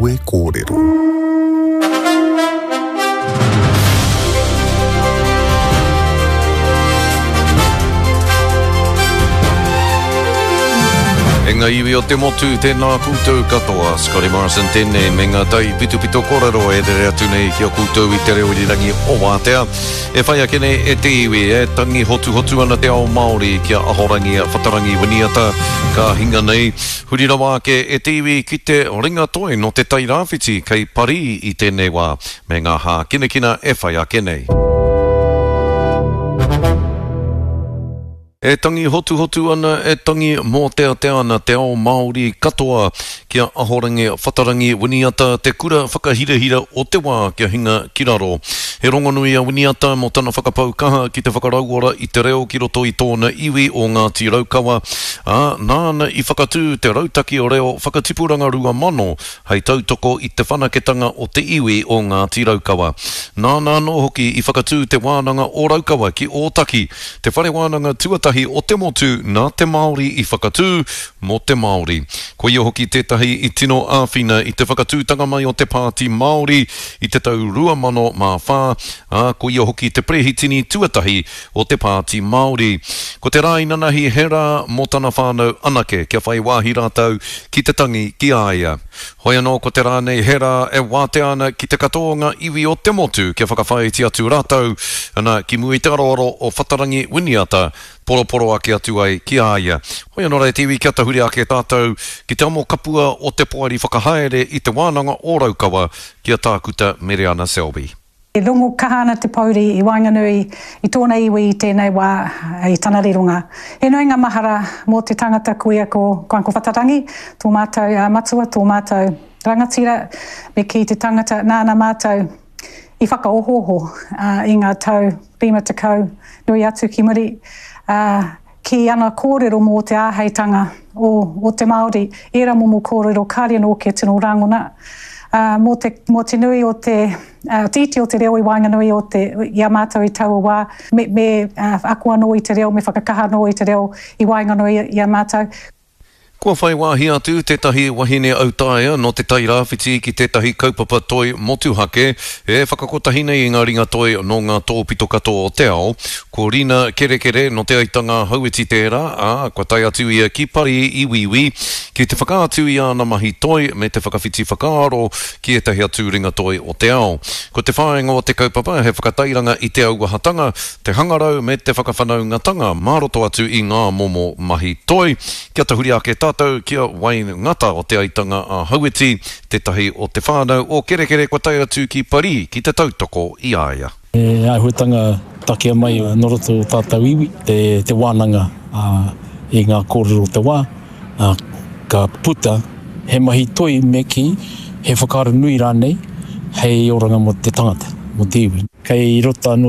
Kawe Kōrero. E ngā iwi o te motu, tēnā koutou katoa. Scotty Morrison tēnei me ngā tai pitopito kōrero e rere atu nei ki a koutou i te reo irirangi o Wātea. E whai ake nei e te iwi, e tangi hotuhotu ana te ao Māori ki a Ahorangi Whatarangi Winiata ka hinga nei. Huri rawa ake e te iwi ki te ringa toi nō Te Tai Rāwhiti kei Parī i tēnei wā, me ngā hākinakina e whai ake nei. E tangi hotuhotu ana, e tangi mōteatea ana te ao Māori katoa ki a Ahorangi Whatarangi Winiata, te kura whakahirahira o te wā kia hinga ki raro. He rongonui a Winiata mō tana whakapau kaha ki te whakarauora i te reo ki roto i tōna iwi o Ngāti Raukawa, ā, nāna i whakatū te Rautaki Reo Whakatipuranga 2000 hei tautoko i te whanaketanga o te iwi o Ngāti Raukawa. Nāna anō hoki i whakatū Te Wānanga o Raukawa ki Ōtaki, te whare wānanga tuatahi o te motu nā te Māori i whakatū mō te Māori. Ko ia hoki tētahi i tino āwhina i te whakatūtanga mai o te Pāti Māori i te tau 2004, ā, ko ia hoki te perehitini tuatahi o te Pāti Māori. Ko te rā inanahi he rā mō tana whānau anake kia whai wāhi rātou ki te tangi ki a ia. Hoi anō ko te rā nei he rā e wātea ana ki te katoa o ngā iwi o te motu kia whakawhāiti atu rātou, ana, ki mua i te aroaro o Whatarangi Winiata, poroporo ake atu ai ki a ia. Hoi anō rā e te iwi kia tahuri ake tātou ki te amo kapua o te poari whakahaere i Te Wānanga o Raukawa ki a Tākuta Mereana Selby. E rongo kaha ana te pouri i waenganui i tōna iwi i tēnei wā i tana rironga. He nui ngā mahara mō te tangata kuia ko Uncle Whatarangi, tō mātou matua, tō mātou rangatira, me kī te tangata nāna mātou i whakaohooho i ngā tau 50 nui atu ki muri. Ki ana kōrero mō te āheitanga o, o te Māori, ērā momo kōrero kāre anō kia tino rangona, ā, mō te, mō te nui o te, ā, te iti o te reo i waenganui o te, i a mātou i taua wā, me, me, ā, ako anō i te reo, me whakakaha anō i te reo i waenganui i a mātou. Kua whai wāhi atu tētahi wahine autaia nō Te Tai Rāwhiti ki tētahi kaupapa toi motuhake e whakakotahi nei i ngā ringa toi nō ngā tōpito katoa o te ao. Ko Rina Kerekere nō Te Aitanga-a-Hauiti tērā, ā, kua tae atu ia ki Parī i Wīwī ki te whakaatu i āna mahi toi me te whakawhiti whakaaro ki ētahi atu ringa toi o te ao. Ko te whāinga o te kaupapa he whakatairanga i te auahatanga, te hangarau me te whakawhanaungatanga mā roto atu i ngā momo mahi toi. Kia tahuri ake tātou ki a Wayne Ngata o Te Aitanga a Hauiti, tētahi o te whānau o Kerekere kua tae atu ki Parī ki te tautoko i a ia. He āhuatanga takea mai nō roto o tātou iwi, te wānanga i ngā kōrero o te wā, ka puta he mahi toi me kī, he whakaaro nui rānei hei oranga mō te tangata, mō te iwi. Kei roto anō.